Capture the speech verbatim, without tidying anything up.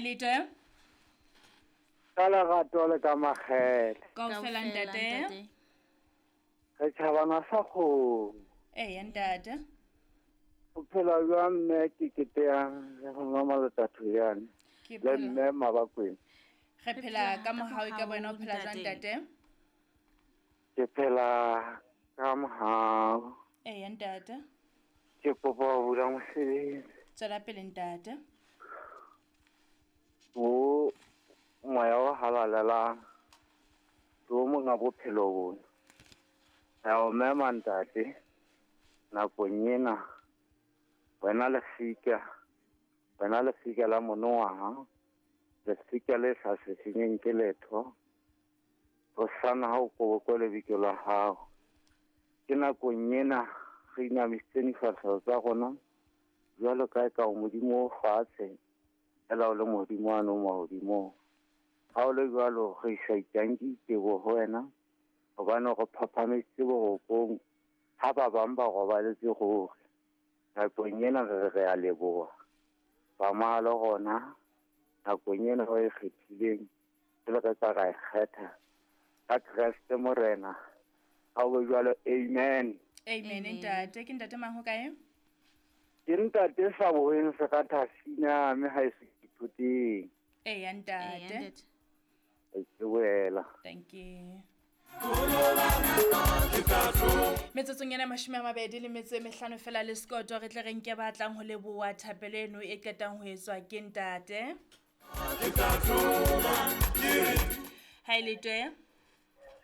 e le twe. Ka lerato le ka makgethe. Kaofela ntate. Re tjhabana sa kgomo. Eya ntate. O phela jwang mme ke keteyang le go nwa Malatatoyane Ke le phela. mme Mabakweng. Re phela ka mohau ka wena o phela jwang ntate? Ke phela ka mohau. Eya ntate. Ke kopa ho bula mosebetsi. Tswela pele ntate. O moya o halalelang ke o monga bophelo bona. Re a o mema ntate nakong ena, wena lefika, wena lefika la monongwaha, lefika le sa sesenyeng ke letho, hosana ha o kobokwe lebitso la hao. Ke nakong ena re inamisitse difahleho tsa rona jwalo ka eka o Modimo o fatshe, fela o le Modimo wane o mahodimong. Ha o le jwalo re isa itanki teboho ho wena, hobane re phaphameditse borokong ha ba bang ba robaletse ruri. Nakong ena re re a leboha. Tsamaya le rona nakong ena o e kgethileng, pele re ka ra e kgetha. Ka Kreste Morena, ha o be jwalo, amen. Amen ntate. Ke ntate mang ho kae? Ke ntate sa bohweng se ka thasina mme ha e se ithuteng. Eya ntate. Ke boela. Thank you. Metsotsong ena mashome a mabedi le metso e mehlano fela le sekoto re tle re nke ba tlang ho leboha thapelo eno e qetang ho etswa ke ntate. Ha e le twe.